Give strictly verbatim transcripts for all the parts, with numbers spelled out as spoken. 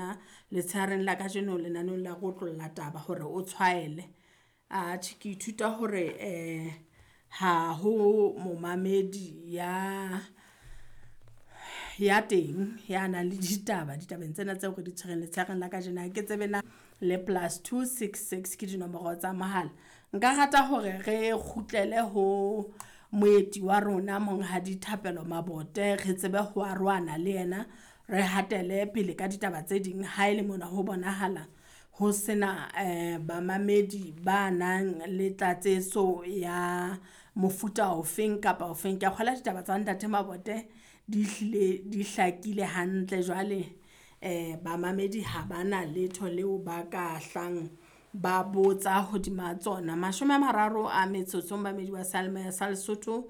tsona letshehareng la kajeno lenaneong la re otlolla taba hore o tshwaele. Atjhe ke ithuta hore ha ho momamedi ya, ya teng ya nang le ditaba ditabeng tsena tseo re di tshwereng letshehareng la kajeno. Ha ke tsebe na le plus two six six ke dinomoro tsa mohala. Nka rata hore re kgutlele ho moeti wa rona Monghadi Thapelo Mabote re tsebe ho arohana le yena, re hatele pele ka ditaba tse ding ha ele mona ho bonahala ho sena bamamedi ba nang le tlatsetso ya mofuta ofeng kapa ofeng. Ke a kgolwa ditaba tsa Ntate Mabote di hlile di hlakile hantle jwale bamamedi ha bana letho leo ba ka hlang ba botsa hodima tsona. Mashome a mararo a metsotso momamedi wa seyalemoya sa Lesotho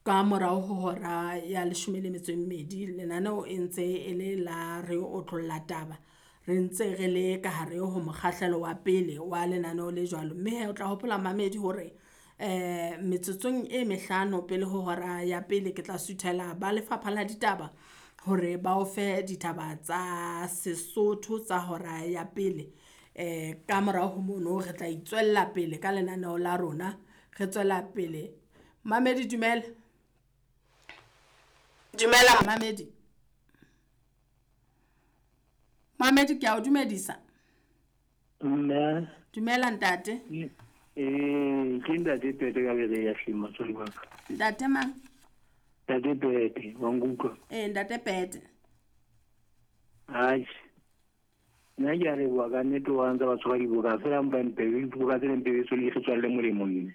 ka morao ho hora ya leshome le metso e mmedi. Lenaneo e ntse e le la re otlolla taba, re ntse re le ka hare ho mokgahlelo wa pele wa lenaneo le jwalo, mme hee o tla hopola mamedi hore metsotsong e mehlano pele ho hora ya pele ke tla suthela ba lefapha la ditaba hore ba o fe ditaba tsa Sesotho tsa hora ya pele. Ka morao ho mono re tla itswella pele ka lenaneo la rona, re tswela pele. Mamedi dumela, dumela mamedi. Mamedi ke a o dumedisa. Mme. Dumela ntate. Eh, ke ntate Pete ka bere ya hleng motswadi wa ka. Ntate mang? Ntate Pete, wa nkutlwa? Eh, ntate Pete. Atjhe. Nna ke a leboha ka nnete wa ntse ba tshwara diboka fela mpa mpe diboka tse mpe so le tswalle molemo mme.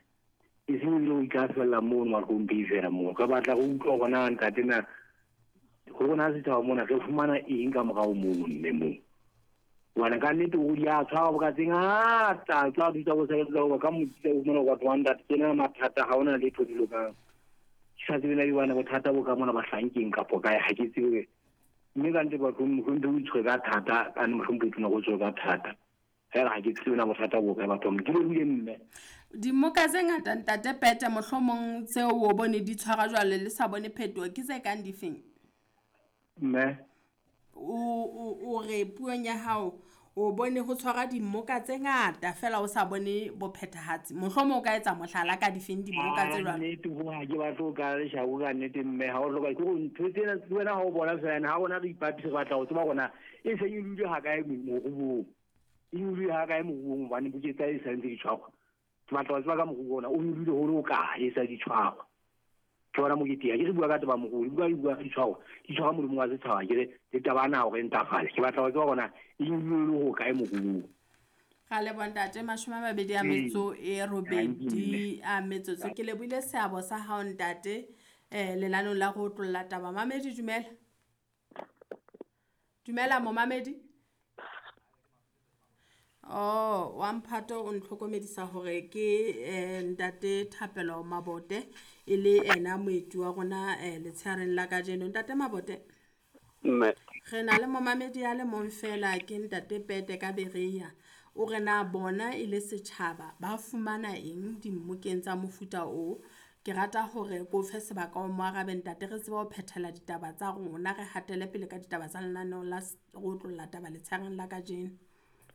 E seng le o ka fella mono mahlong fela moo. Re batla go utlwa hore na ntate na go rona setjhaba mona re fumana eng ka morao mono mme moo. Hobane ka nnete o di a tshwara boka tse ngata tsa thusa bo sebetsa ho ka motse o fumana batho ba ntate tsena mathata ha ona letho di lokang. Ke sa tsebe na di bana bothata bo ka mona bahlankeng kapo kae ha ke tsebe. Mme ka nnete batho mohlomong o itshwere ka thata ka mohlomong o go tswe ka thata. Fela ha ke tsebe na bothata bo kae batho ke le mme. Dimoka tse ngata ntate Pete mohlomong tseo o bone di tshwara jwale le sa bone phetoho ke tse kang difeng? Mme o o o re puong ya hao o bone ho tshwara dimoka tse ngata fela o sa bone bophethahatsi mohlomong o ka etsa mohlala ka difeng dimoka tse jwalo. Nnete ho ha ke batlo ka leshako ka nnete mme ha o hloka ke go ntho tsena wena ha o bona fela ha bona re ipapisa re batla ho tseba hore e se e dule ha kae moruong e dule ha kae moruong hobane buketsa e sa ntse di tshwarwa ke batla ho tseba ka moruo ona o dule ho le kae e sa di tshwarwa ke bona mokete ya ke re bua ka taba moruo bua di bua di tshwarwa di tshwarwa molemo wa setjhaba ke re le taba na hore ntafale ke batla ho tseba hore e dule ho kae moruo. Ra leboha ntate mashome a mabedi a metso e robedi a metsotso ke lebohile seabo sa hao ntate eh lenaneong la go otlolla taba. Mamedi dumela. Dumela momamedi. Oh, wa mphato o ntlhokomedisa hore ke ntate Thapelo Mabote e le ena moeti wa rona letshehareng la kajeno. Ntate Mabote. Mme. Re na le momamedi a le mong fela ke ntate Pete ka Berea. O re na bona e le setjhaba ba fumana eng dimmokeng tsa mofuta o. Ke rata hore ko fe sebaka o mo arabe ntate re tsebe ho phethela ditaba tsa rona re hatele pele ka ditaba tsa lenaneo la go otlolla taba letshehareng la kajeno.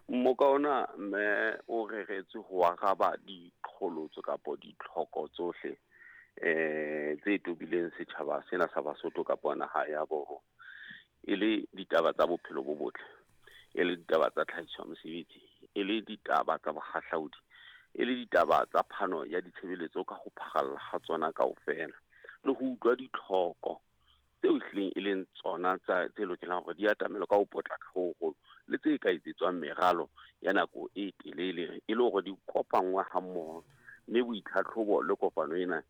Mmoka ona mme o reretswe ho araba diqholotso kapa ditlhoko tsohle eh tse tobileng setjhaba sena sa Basotho kapa naha ya borona e le ditaba tsa bophelo bo botle e le ditaba tsa tlhahiso ya mosebetsi e le ditaba tsa bohahlaudi e le ditaba tsa phano ya ditshebeletso ka ho pharalla ha tsona kaofela le ho utlwa ditlhoko tseo ehlileng e leng tsona tsa tse lokelang hore di atamelwe ka ho potlaka ho hoholo le tse ka etsetswang meralo ya nako e telele e le hore di kopanngwe hammoho mme boitlhatlhobo le kopano ena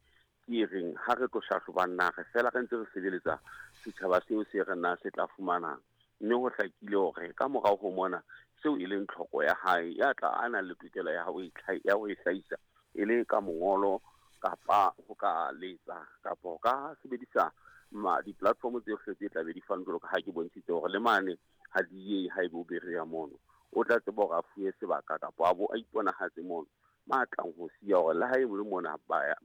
ke e reng ha re tlo hlahlobang na re fela re ntse re sebeletsa setjhaba seo se re na se tla fumanang mme ho hlakile hore ka morao ho mona seo e leng tlhoko ya hae ya tla a nang le tokelo ya ho ya ho e hlahisa e le ka mongolo kapa ho ka letsa kapa ho ka sebedisa ma di-platform tsohle tse tla be di fanwe jwalo ka ha ke bontshitse hore le mane ha di ye ha ebe o bereya mono o tla tseba hore a fuwe sebaka kapa a bo a iponahatse mono ma tlang ho siya hore le ha e le mona ba